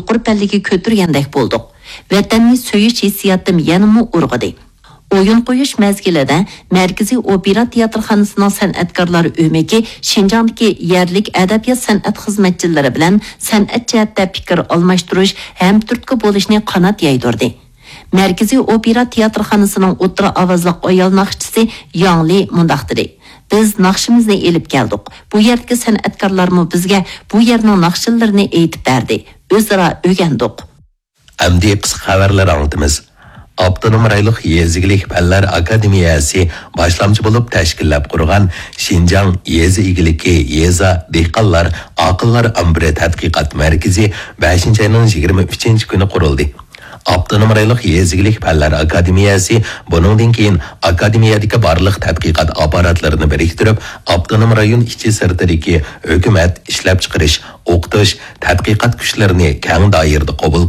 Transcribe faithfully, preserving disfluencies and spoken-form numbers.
يۇقىرى پەللىگە كۆتۈرگەندەك بولدۇق. ۋەتەننى سۆيۈش ھېسسىياتىم يەنىمۇ ئۇرغۇدى. ئويۇن قويۇش مەزگىلىدە مەركىزىي ئوپېرا تىياتىرخانىسىنىڭ سەنئەتكارلار ئۆمىكى شىنجاڭدىكى يەرلىك ئەدەبىيات-سەنئەت خىزمەتچىلىرى بىلەن سەنئەت جەھەتتە پىكىر ئالماشتۇرۇش، ھەمتۈرتكە بولۇشنى قانات يايدۇردى. مەركىزىي ئوپېرا تىياتىرخانىسىنىڭ ئوتتۇرا ئاۋازلىق ئايال ناخشىچىسى ياڭ لى مۇنداق دېدى: «بىز ناخشىمىزنى ئېلىپ كەلدۇق. بۇ يەردىكى سەنئەتكارلارمۇ بىزگە بۇ يەرنىڭ ناخشىلىرىنى ئېيتىپ بەردى. ئۆزئارا ئۆگەندۇق.» ئەمدى قىسقا خەۋەرلەر ئاڭلىتىمىز. ئاپتونوم رايونلۇق يېزا ئىگىلىك پەنلەر ئاكادېمىيەسى باشلامچى بولۇپ تەشكىللەپ قۇرغان شىنجاڭ يېزا ئىگىلىكى يېزا دېھقانلار ئاقىللار ئامبىرى تەتقىقات مەركىزى بەشىنچى ئاينىڭ يىگىرمە ئۈچىنچى كۈنى قۇرۇلدى. ئاپتونوم رايونلۇق يېزا ئىگىلىك پەنلەر ئاكادېمىيەسى بۇنىڭدىن كېيىن ئاكادېمىيەدىكى بارلىق تەتقىقات ئاپپاراتلىرىنى بىرىكتۈرۈپ، ئاپتونوم رايون ئىچى سىرتىدىكى ھۆكۈمەت، ئىشلەپچىقىرىش، ئوقۇتۇش، تەتقىقات كۈچلىرىنى كەڭ دائىرىدە قوبۇل